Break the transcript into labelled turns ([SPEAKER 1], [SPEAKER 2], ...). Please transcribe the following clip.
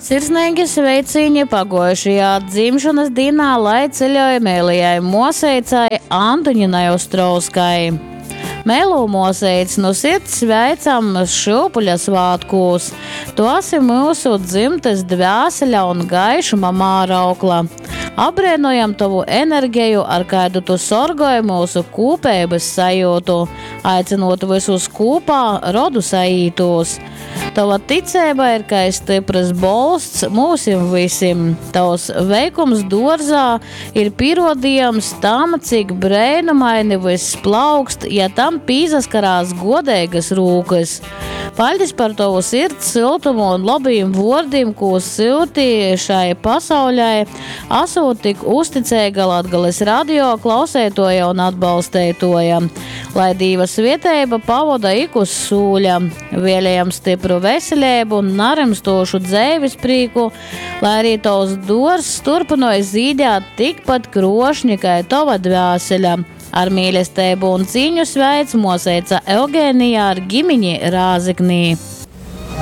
[SPEAKER 1] Sirsneigi sveicīņi paguojušajā dzimšonys dīnā, lai ceļoj meilajai muoseicai Antoņinai Ostrovskai. Meilū muoseic, nu sirds sveicam šyupuļa svātkūs! Tu esi myusu dzymtys dvēsele un gaišuma māraukla. Apbreinojam tovu energeju, ar kaidu tu sorgoj myusu kūpeibys sajiutu, aicynūt vysus kūpā rodu saītūs. Tova ticeiba ir kai styprys bolsts myusim vysim. Tovs veikums duorzā ir pīruodījums tam, cik breinumaini vyss plaukst, ja tam pīsaskarās guodeigys rūkys. Paļdis par tovu sirds syltumu un lobīm vuordim, kū syuti šai pasauļai, asūt tik uzticeiga Latgales radio klauseituoja un atbalsteituoja. Lai Dīva svieteiba pavoda ik uz sūļa. Vēlējam stypru veseleibu un narymstūšu dzeivis prīku, lai arī tovs duorzs turpynoj zīdēt tikpat kruošņi kai tova dvēsele. Ar mīlesteibu un cīņu sveic muoseica Eugēnija ar gimiņi Rāzeknī.